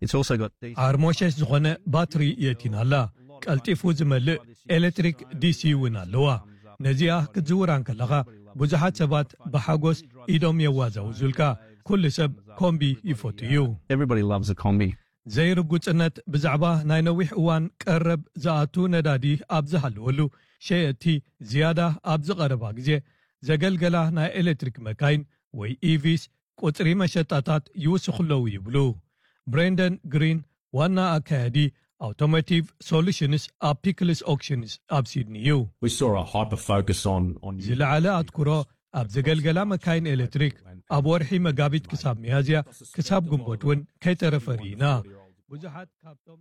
It's also got ዓርሞሸሽ ዝኾነ ባትሪ የእቲና ኣላ። ቀልጢፉ ዝመልእ ኤሌክትሪክ ዲሲ እውን ኣለዋ። ነዚኣ ክትዝውራ እንከለኻ ብዙሓት ሰባት ብሓጎስ ኢዶም የዋዛውዙልካ። ኩሉ ሰብ ኮምቢ ይፈቱ እዩ። Everybody loves a combi. ዘይርጉጽነት ብዛዕባ ናይ ነዊሕ እዋን ቀረብ ዝኣቱ ነዳዲ ኣብ ዝሃለወሉ፣ ሸየጥቲ ዝያዳ ኣብ ዝቐረባ ግዜ ዘገልገላ ናይ ኤሌክትሪክ መካይን ወይ ኢቪስ ቁጽሪ መሸጣታት ይውስኹ ኣለዉ ይብሉ። ብሬንደን ግሪን ዋና ኣካያዲ ኣውቶሞቲቭ ሶሉሽንስ ኣብ ፒክልስ ኦክሽንስ ኣብ ሲድኒ እዩ። We saw a hyper focus on on ዝለዓለ ኣትኩሮ ኣብ ዘገልገላ መካይን ኤሌክትሪክ ኣብ ወርሒ መጋቢት ክሳብ ሚያዝያ ክሳብ ግንቦት እውን ከይተረፈ ርኢና። ብዙሓት ካብቶም